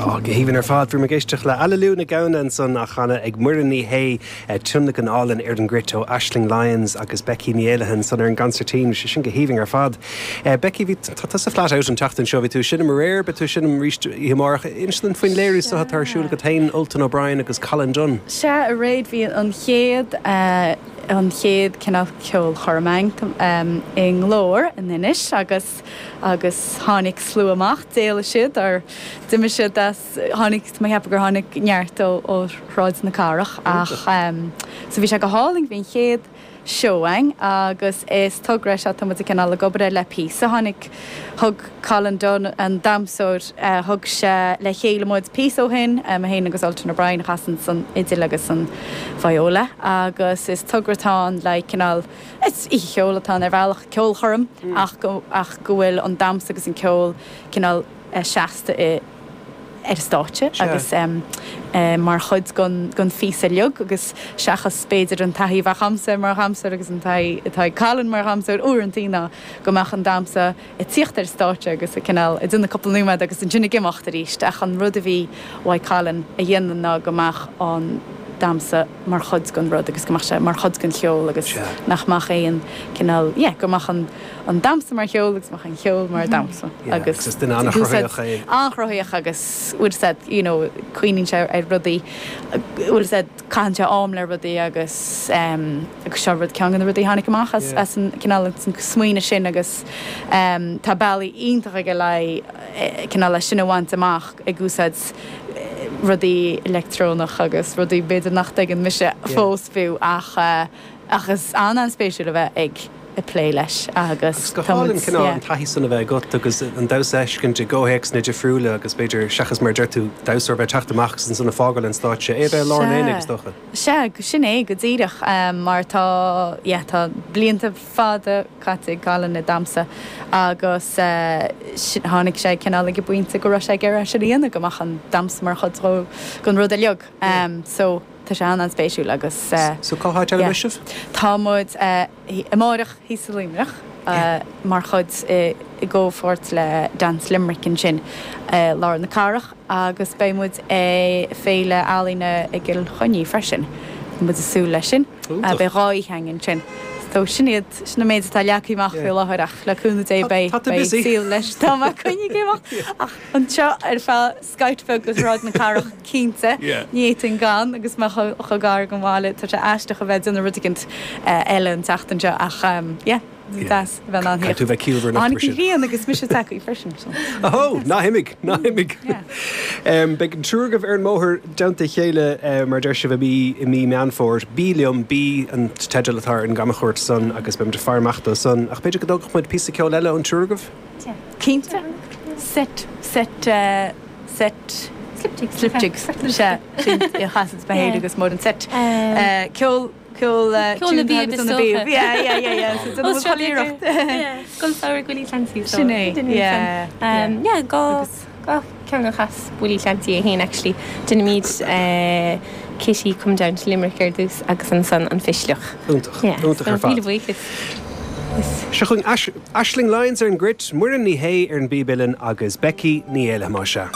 Ó, go haoibhinn ar fad. Bhí muid ag éisteacht le Aililiú na Gamhna ansan á chanadh ag Muireann Ní Shé, tionlacan álainn ar an gcruit ó Aisling Lyons agus Becky Ní Éallaithe ansan ar an gconsairtín. Bhí sé sin go haoibhinn ar fad. Becky, bhí, tá tusa flat out an tseachtain seo, bhí tú ag seinm aréir, beidh tú ag seinm arís oíche amárach. Inis dúinn faoin léiriú seo atá ar siúl agat féin, Ultan O'Brien agus Colin Dunne. Sea, aréir bhí an chéad, an chéad cineál ceolchoirm againn i nGlór in Inis agus, agus tháinig slua amach, d'éalaigh siad or d'imigh siad as, tháinig, tá mé ag ceapadh gur tháinig neart ó ó Shráid na Cathrach ach so bhí sé go hálainn, bhí an chéad seó againn agus is togra é seo tá muid ag cineál ag obair air le píosa, tháinig, thug Colin Dunne an damhsóir, thug sé le chéile muid píosa ó shin, mé féin agus Ultan O'Brien a chasann an fhidil agus an viola agus is togra atá ann le cineál Is oíche cheoil atá ann ar bhealach, ceolchoirm, ach go ach go bhfuil an damhsa agus an ceol cineál seasta i ar an stáitse agus mar chuid den den phíosa uilig agus seachas b'fhéidir an taithí a bheadh a'msa mar dhamhsóir agus an taithí atá ag Colin mar dhamhsóir uaireantaí ná go mbeadh an damhsa ag tíocht ar an stáitse agus ag cineál ag déanamh cúpla nóiméad agus ansin ag imeacht arís ach an rud a bhí uaidh Colin a dhéanamh ná go mbeadh an damhsa mar chuid den rud agus go mbeadh sé mar chuid den cheol agus nach mbeadh aon cineál yeah go mbeadh an an damhsa mar cheol agus go mbeadh an cheol mar dhamhsa agus is duine an-chruthaitheach é. An-chruthaitheach agus bhfuil fhios a'd you know cuimhníonn sé ar rudaí bhfuil fhios a'd caitheann sé am le rudaí agus agus seo rud ceann de na rudaí a tháinig amach as as an cineál an smaoineamh sin agus tá bealaí iontach aige le cineál é sin a bhaint amach ag úsáid rudaí leictreonach agus rudaí b'fhéidir nach dtuigeann mise fós fiú ach ach is an-an-spéisiúil a bheith ag ag plé leis agus Agus go hálainn cineál an taithí san a bheith agat agus an damhsa a fheiscint i gcomhthéacsanna difriúla agus b'fhéidir seachas mar a deir tú damhsóir a bheith ag teacht amach agus ansan ag fágáil an stáitse, é a bheith i lár an aonaigh is dócha. Sea, sin é go díreach mar tá, yeah, tá blianta fada caite ag Colin ag damhsa agus tháinig sé cineál ag an bpointe go raibh sé ag iarraidh sin a dhéanamh, go mbeadh an damhsa mar chuid den rud uilig. So. Tá sé an-an-spéisiúil agus. So cá háit eile a mbeidh sibh? Tá muid amáireach thíos i Luimneach mar chuid i gcomhpháirt le Dance Limerick ansin i lár na cathrach agus beidh muid ag Féile Ealaíne i gCill Chainnigh freisin. Tá muid ag súil leis sin. Beidh 2 oíche againn ansin. So sin iad, sin an méid atá leagtha amach faoi láthair ach le cúnamh Dé beidh saol leis. Tá mé coinnithe ag imeacht ach anseo ar feadh scaifte beag go Sráid na Cathrach cinnte. Ní fhéadfainn gan agus mé chomh gar don bhaile. Tá sé aisteach a bheith ag déanamh rud éicint eile an tseachtain seo ach yeah, deas a bheith in ann theacht. Caithfidh tú bheith ciallmhar anocht mar sin. Tháinig an ghrian agus mise tagtha freisin. Ahó! Ná himigh! Ná himigh! Beidh an triúr agaibh ar an mbóthar i dteannta a chéile mar a deir sibh i mí i mí Meán Fómhair. Bí Liom, Bí an teideal atá ar an gcamchuairt san agus beidh muid ag faire amach dó san. Ach b'fhéidir go dtógfadh muid píosa ceoil eile ón triúr agaibh? Cinnte. Set, set, set. Slip jigs. Slip jigs. Sea, sin a chasanns mé féin agus Muireann. Set. Ceol, ceol, Ceol na bpíob is dócha. Yeah, yeah, yeah, yeah. So déanann muid chuile iarracht. Yeah. Scoil Samhraidh Willie Clancy. Sin é. Yeah. Yeah, gá ceann a chas Willie Clancy é féin actually. Déanaimid Kitty Come Down to Limerick ar dtús agus ansan an Pisleach. Iontach. Iontach ar fad. Míle buíochas. Seo chugainn Aisling Lyons ar an gcruit, Muireann Ní Shé ar an bpíb uilleann agus Becky Ní Éallaithe más ea.